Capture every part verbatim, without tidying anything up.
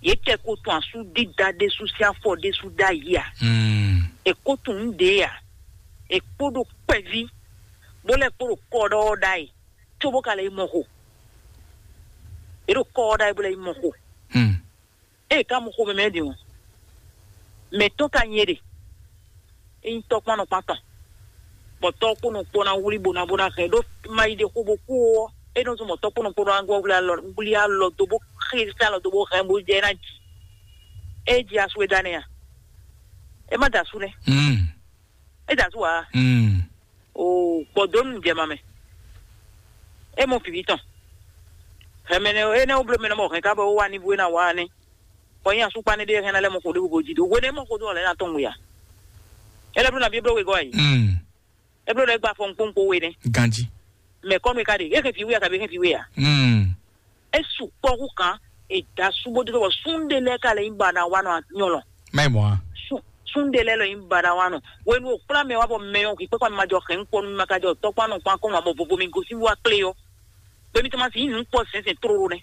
Yě kɛ ko tun asú dídá ɖésú sín afɔ ɖésú ɖ'ayǐ a? È ko tunwun nǔ ɖě a? È kpo ɖo kpɛví, bó lɛ́ kpo ɖo kɔ ɖɔ ɔ́ ɖ'ayǐ, cóbó ka lɛ́ yi mɔ xo. È ɖo kɔ ɔ́ ɖ'ayǐ bó lɛ́ yi mɔ xo. Ée ka mɔ xomɛ mɛ ɖe ɔ́, mɛ tɔn ka nyɛ ɖe. É nyí tɔ́kpán nɔkpán tɔn, bɔ tɔ́ kpó nɔ kpó ná wlí bó ná bó ná hɛn ɖó ma yi ɖe xó bó kú ɔ́, é nɔ zɔn bɔ tɔ́ kpó nɔ kpó ná gbɔ wlí alɔ wlí alɔ dó bó xé alɔ dó bó hɛn bó jɛ ná ji. É ji asu é da nɛ a? É má da asu nɛ. É da asu a? O gbɔdɔnu jɛ ma mɛ. É mɔ fǐví tɔn. Hɛmɛ nɛ é nɛ wó bló mɛ nɔ mɔ hɛn ká bɔ wó wá ní bó é ná wá nɛ́. Bɔ nyí asúkpa ní ɖé hɛn ná lɛ́ mɔ xo ɖé bó jí dó hwénɛ́ mɔ xó dó ɔ́ lɛ́ ná tɔn ŋu ya. É lɛ́ bló ná bí é bló wegɔ́ ayi. É bló lɛ́ gba afɔ kpónkpó we nɛ́. Ganjí. Mɛ kɔ́nu e ka ɖe é hɛn fí wé a kabi é hɛn fí wé a? É sukpɔ́ hú kan. È da súbó dó bɔ súnɖe lɛ́ɛ ka lɛ nyí ba ná wá nɔ nyɔlɔ. Má yi mɔ a? Súnɖe lɛ́ɛ lɔ nyí ba ná wá nɔ. Wenu o kplá mɛ wá bɔ mɛ ɔ́ hwi kpɛ́kpá mi ma jɔ hɛn kpɔ mi ma ka jɔ tɔ́kpá nɔ kpán kɔn ma bɔ vovo mi gosín wá klé ɔ́. Gbemi tɔmasi yí nǔ kpɔ sɛnsɛn tlóló nɛ́.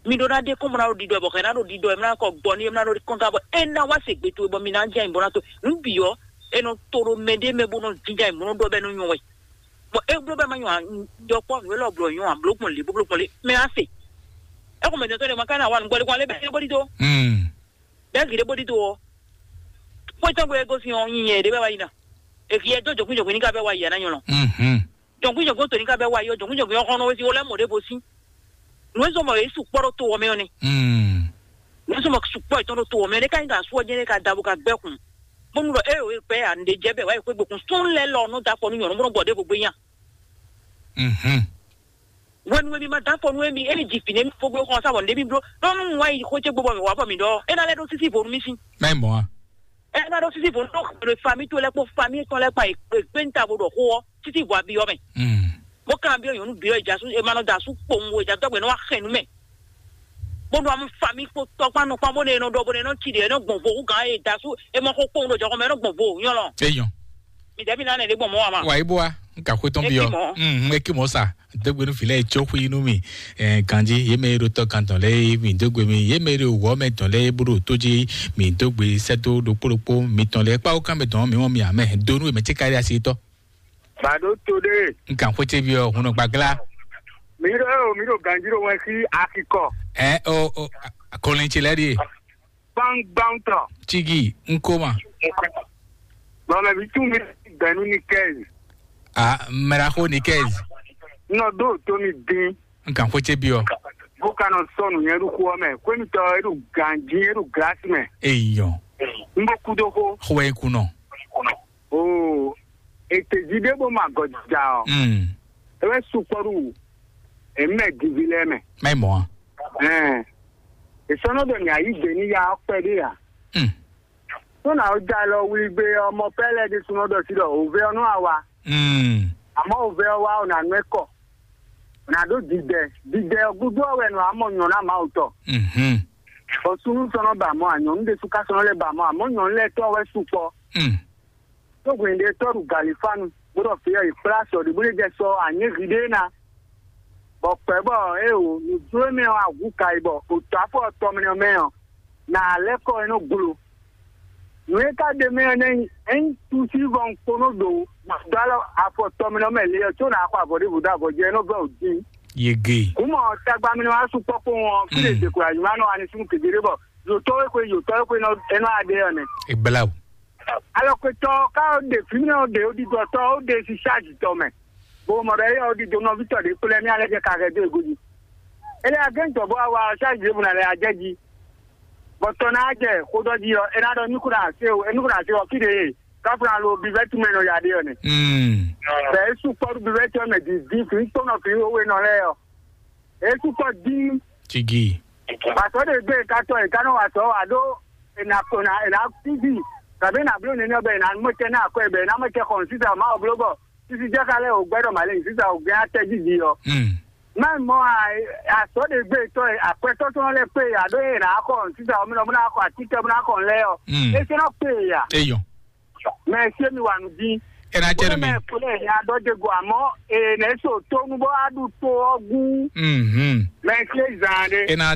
Mi ɖó ná ɖe kɔn bɔ ná ɖo ɖiɖɔ bɔ hɛn ná ɖo ɖiɖɔ ɛ mlá kɔ gbɔ ní ɛ mlá ɖo kɔn ká bɔ é ná wá se gbe towe bɔ mi ná jɛ ayǐ bɔ ná to nǔ bǐ ɔ́. É nɔ to ɖo mɛ ɖé mɛ bó nɔ jínjɔ́n ayǐ bó nɔ ɖɔ bɔ é nɔ nyɔ wɛ. Bɔ é bló bɔ é má nyɔ ǎ, yɔkpɔ́ nǔ élɔ́ blɔ nyɔ ǎ, bló gbɔn lě bó bló gbɔn lě mɛ á se. É xɔ mɛ dɔn tɔn ɖé ma ka ná wa nǔgbɔ ɖé kɔn lé bɛ́ é bó ɖídó. Bɛ́ gǐ ɖé bó ɖídó ɔ́. Xwé tɔn gbé é gosín ɔ́ nyi nyɛ ɖé bɛ́ wá yi ná. Èkì yɛ dó jɔ̌kúnjɔ̌kún ní ká bɛ́ wá yi ǎ ná nyɔlɔ. Jɔ̌kúnjɔ̌kún tòní ká bɛ́ wá yi ɔ́, jɔ̌kúnjɔ̌kún ɔ́ xɔ́n nɔ wé sí wó lɛ́ mɔ ɖěvo sín. Nǔ e zɔ́n bɔ yě sukpɔ́ ɖó to ɔ́ mɛ ɔ́ nɛ́. Nǔ e zɔ́n bɔ sukpɔ́ yětɔn ɖó to ɔ́ mɛ ɔ́ nɛ́ ká nyí ɖɔ asú ɔ́ jɛ́n é ka da bó ka gbɛ́ kun. Bónú ɖɔ é o é gbɛ́ ǎ, nǔɖé jɛ bɛ́ wá yi xwé gbekun sún lɛ́ lɔ nɔ da afɔ nú nyɔ̌nu bó nɔ gbɔ ɖěvo gbé nya. Hwenu e mi ma da afɔ nú émi, émi ji fǐ nú émi fó gbé xɔ sá bɔ nǔɖé mi bló. Ɖɔ nú un wá yi xwé ce gbó bɔ mǐ wá bɔ mǐ ɖɔ é ná lɛ́ ɖó sísí vo nú mì sín. Má yi mɔ a? É ná ɖó sísí vo nú ɖo fami tó lɛ́ kpó fami tɔn lɛ́ kpa yi kpé níta bó ɖɔ xó ɔ́ títí vo abi ɔ́ mɛ. Bó kan byɔ́ nyɔ̌nu byɔ́ ìjà sú è ma nɔ da sú kpowun o ìjà dɔgbe nɔ wá xɛn nú mɛ. Bó nɔ amú fami kpó tɔkpán nɔ kpán bó ne nɔ ɖɔ bó ne nɔ ci ɖe nɔ gbɔn vo hú gǎn e da sú è mɔ xó kpowun ɖo jɔxɔ mɛ nɔ gbɔn vo nyɔlɔ. Eyɔn. Mi dɛbi na ne ɖe gbɔn mɔ ama. Wa ibo wa n ka xwe tɔn bi ɔ. N eki mɔ sa dogbe nu filɛ tso xui nu mi. Ganji ye mɛ ɖo tɔ kan tɔn lɛ mi dogbe mi ye mɛ ɖo wɔ mɛ tɔn lɛ bó ɖo tó jí mi dogbe sɛto ɖokpó ɖokpó mi tɔn lɛ kpawo kan mɛ tɔn mi wɔn mi amɛ donu mɛ tsi kari asi tɔ. Bado to ɖe. N kan xwete bi ɔ hun gbagla. Mi ɖo eo mi ɖo ganji ɖo wɛn sí akikɔ. Ɛ o o kɔlin tsi lɛ ɖi. Gbangban tɔ. Tsigi nkoma. Bɔmɛ bi tún mi gbɛnu ni kɛzi. A mɛra xo ni kɛzi. Nɔ do to mi dín. N kan xwete bi ɔ. Bó ka nɔ sɔnu nyɛ ɖo xó ɔ́ mɛ kwémitɔ e ɖo ganji e ɖo glasi mɛ. Eyɔ. N bó kú dó xó. Xó wɛ kunɔ. Oo, ètè jí ɖé bó ma gɔjija ɔ. Mm. É wɛ sukpɔ́ ɖu èmɛ divi lɛ́ɛ mɛ. Má yi mɔ a? Ɛn, ìsɔnɔ ɖɔ ní ayí gbě ní ya ɔkpɛ ɖé a? Mm. Tó nà ó já lɔ wlí gbé ɔmɔ pɛ́lɛ ɖé súnɔ ɖɔ sí ɖɔ òvé ɔ́ nú àwa. Mm. Àmọ́ òvé ɔ́ wá ɔ̀nà nú ẹ kɔ. Nà ɖó dìdɛ. Dìdɛ ɔ́ gúdo ɔ́ wɛ nɔ àmọ́ nyɔ̌ná Mawu tɔ. Mhm. Bɔ súnú sɔnɔ ba mɔ ànyɔ̌nú ɖésú ká sɔnɔ lɛ ba mɔ àmọ́ nyɔ̌nú lɛ tɔ́ wɛ sukpɔ. Mm. Tó hwɛ̌n ɖe tɔ́ ɖu galifánu, bó ɖɔ fǐ ɔ́, è kplá sɔ ɖě bó lé jɛ sɔ anyěhi ɖé ná. Bɔ kpɛ̌ bɔ é o nǔjló mɛ ɔ́ ahu ka yi bɔ òtɔ́ afɔ tɔmlɛ mɛ ɔ́, nà lɛ́ kɔ é nɔ glo. Nǔ e ka ɖe mɛ ɔ́ nɛ́ nyí, ényí túsí vɔ un kponó ɖo dó alɔ afɔ tɔmlɛ mɛ le ɔ́, có nà xɔ avɔ ɖěvo dó avɔ jɛ é nɔ vɛ ò dín. Yege. Kúmɔ tagba mi wá sukpɔ́ kpowun ɔ́, fí lè dě kula yuma nɔ ani súnmù kékeré bɔ yòtɔ́ wé xwe yòtɔ́ wé xwe nɔ é nɔ adé ɔ́ nɛ. Ìgbéláwò. Alɔkwetɔ ká ó ɖe fǐmɛ ó ɖe ó ɖiɖɔ tɔ ó ɖe si ṣáàjì tɔ mɛ. Bó mɔ ɖɔ éyɔ ó ɖiɖɔ nɔvítɔ ɖě kplé mí alɛ jɛ ka hɛ dó ego jí. Ele agɛntɔ bó wa ṣáàjì ɖěbǔ ná lɛ ajɛ jí. Bɔ tɔ ná jɛ xó ɖɔ jí ɔ, é ná ɖɔ nukúnɖa ase o, é nukúnɖa ase ɔ fí ɖe e, káfíńlá lo bivɛtu mɛ nɔ ya ɖe ɔ nɛ. Mm. Bɛ é sukpɔ́ ɖu bivɛtu ɔ́ mɛ dǐndín fǐ kpɔ́nɔ fǐ wéwé nɔ lɛ́ɛ ɔ. É sukpɔ́ dín. Tigi. Pàtó ɖe gbé ká tɔ è ká nɔ wa tɔ wa ɖó è nà kó nà è nà kúzi tàbí è nà bló nínú ọbẹ̀ è nà mú ẹtẹ náà kọ́ ẹ̀bẹ̀ è nà mú ẹtẹ kọ̀ ní sísè ọ̀ma ọ̀bló bọ̀ sísè jẹ́ kálẹ̀ ò gbẹ́dọ̀ màlẹ́ ní sísè ò gẹ́ atẹ́ jíjí ọ. Mm. Má mọ àsọ́ ɖe gbé tọ́ àpẹtọ́ tó lẹ́ pé àdó è nà kọ̀ ní sísè ọmọ ọmọ náà kọ̀ àti tẹ́ ọmọ náà kọ̀ lẹ́ ọ. Mm. É sẹ́ náà pé yà. Eyɔn. Mɛ ṣé mi wà nù dín. Ena jẹ́ mi. Mɛ kúlẹ̀ ní adọ́jẹ́gò àmọ́ èèyàn èso tó ń bọ́ adùn tó ọgún. Mhm. Mɛ ṣé zàn án dé. Ena